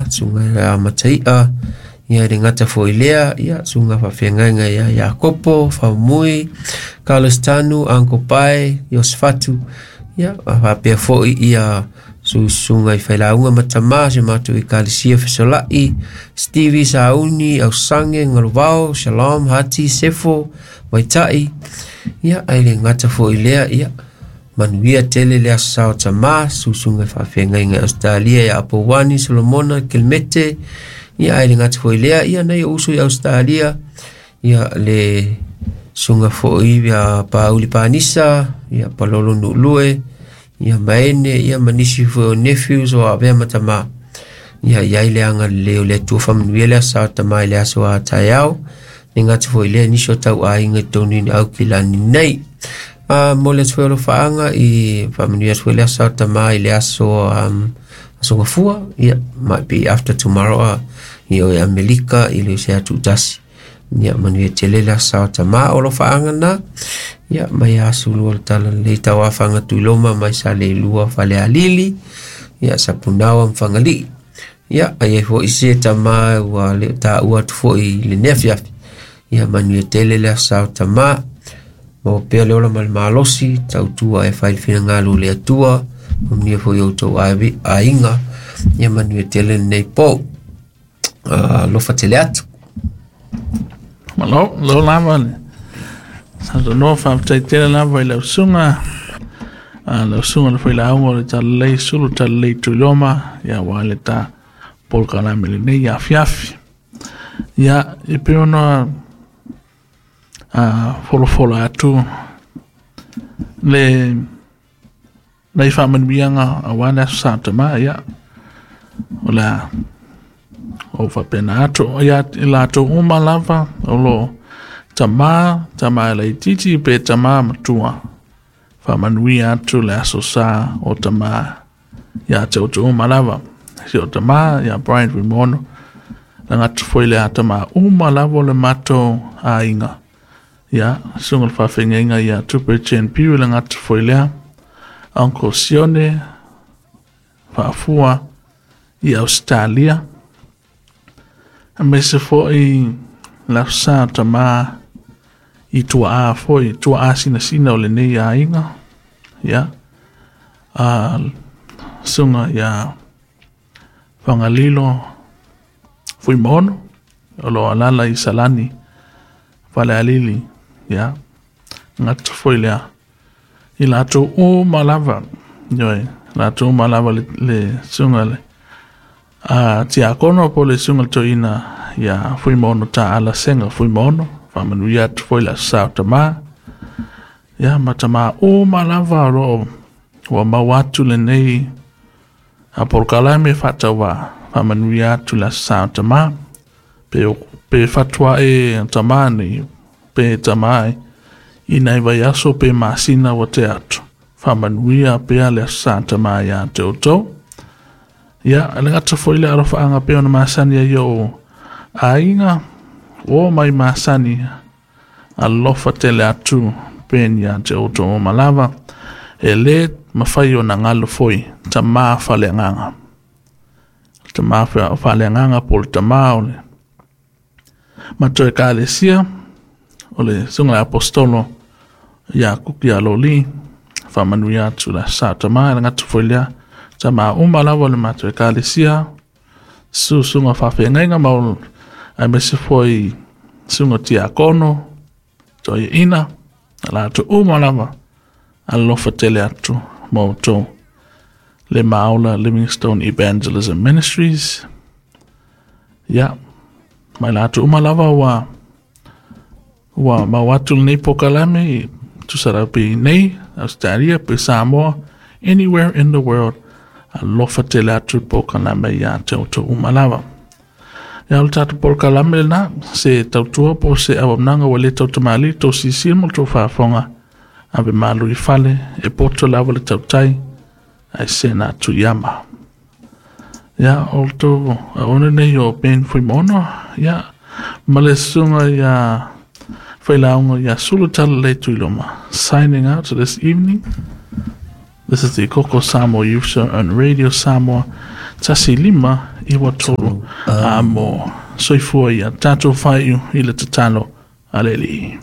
susuga ia Matai'a, ia e le gata foi lea, ia susuga faafeagaiga ia Iakopo, Faumui, Carlos Tanu, Uncle Pae, Iosefatu, ia faapea foi ia susuga i failauga ma tamā si o matou ekalesia Fesola'i, Stevie Sauni, Ausange, Galuvao, Shalom, Hati, Sefo, Vaita'i, ia ae le gata foi lea, ia manuia tele le aso sa o tamā, susuga i faafeagaiga i Ausetalia ia Apouani, Solomona, Kelemete, ia ae le gata foi lea, ia nai ou uso i Ausetalia, ia le susuga foi ia Pauli Panisa, ia Palolo Nuulue, ia Maene, ia ma nisi foi o nephews o avea ma tamā. Ia i ai le agalelei o le Atua faamanuia le aso sa o tamā i le aso a taeao, le gata foi lea nisi o tauaiga i totonu i Aukilani nei. Mo le atu foi alofaaga i faamanuia atu foi le aso sa o tamā i le aso aso gafua, ia might be after tomorrow ia o Amerika i le se atu tasi. Ia manuia tele le aso sa o tamā o alofaaga na. Ia mai aso lua le tala lelei tauafaga tuiloma mai sa le lua fale alili. Ia sapunaoa ma Fagalii. Ia ai ai foi se tamā ua le taua atu foi i lenei afiafi. Ia manuia tele le aso sa o tamā. Maua pea le ola ma le malosi, tautua e fai le finagalo o le Atua, manuia foi outou aiga, ia manuia tele lenei po. Alofa tele atu. Malo, lo lava le saunoa, faafetai tele lava i lau susuga, lau susuga le failauga o le Talalelei Sulu Talalelei Tuiloma, ia ua le ta polokalame lenei afiafi. Ia, e pei ona folafola atu le nai faamanuiaga aua le aso sa tamā, ia o le a ou faapena atu ia i latou uma lava o lo tamā, tamā laitiiti pe tamā matua, faamanuia atu le aso sa o tamā ia te outou uma lava. Si o tamā ia Brian Fuimaono, lagata foi le a tamā uma lava o le matou aiga. Ia, susuga le faafeagaiga ia Tupe Chen Piu, lagata foi lea Uncle Sione Faafua i Australia, aemaise foi le aso sa o tamā i tuaa foi, tuaa sinasina o lenei aiga, ia susuga ia Fagalilo Fuimaono o lo alala i Salani Falealili, ia gata foi lea i latou uma lava, ioe, latou uma lava le susuga le tiakono po le susuga le toeaina ia Fuimaono Taala Sega Fuimaono, faamanuia atu foi le aso sa o tamā, ia ma tamā uma lava o loo ua maua atu lenei a polokalame faatauvaa, faamanuia atu le aso sa o tamā, pe fatua e tamā nei pe tamā i nai vaiaso pe masina ua te atu, faamanuia pea le aso sa tamā ia te outou. Ia, le gata foi le alofaaga pe ona masani ai o aiga o mai masani, alofa tele atu peni ia te outou uma lava, e lē mafai ona galo foi tamā faleagaga, tamā faleagaga po o le tamā o le matou ekalesia o le susuga le apostolo ia Kuki Aloli, faamanuia atu le aso sa tamā. Le gata foi lea tamā uma lava o le matou ekalesia, susuga faafeagaiga ma aemaise foi susuga tiakono toeaina, latou uma lava, alofa tele atu ma outou le Maola Livingstone Evangelism Ministries. Ia, mai latou uma lava ua mau atu lenei polokalame, tusa rau pe nei Australia pe Samoa, anywhere in the world, alofa tele atu polokalame ia te outou uma lava. Ia, o le tatou polokalame lena, se tautua po se auaunaga ua le tautamalii tou silasila ma le tou faafofoga, ave malu i fale, e poto lava le tautai ae sena atu i ama. Ia, o le tou auauna nei o Ben Fuimaono, ia ma le susuga ia failauga ia Sulu Talalelei Tuiloma, signing out this evening. This is the Koko Samoa Youth Show on Radio Samoa 15 93 amo. Soifua ia tatou faaiu i le tatalo a le Alii.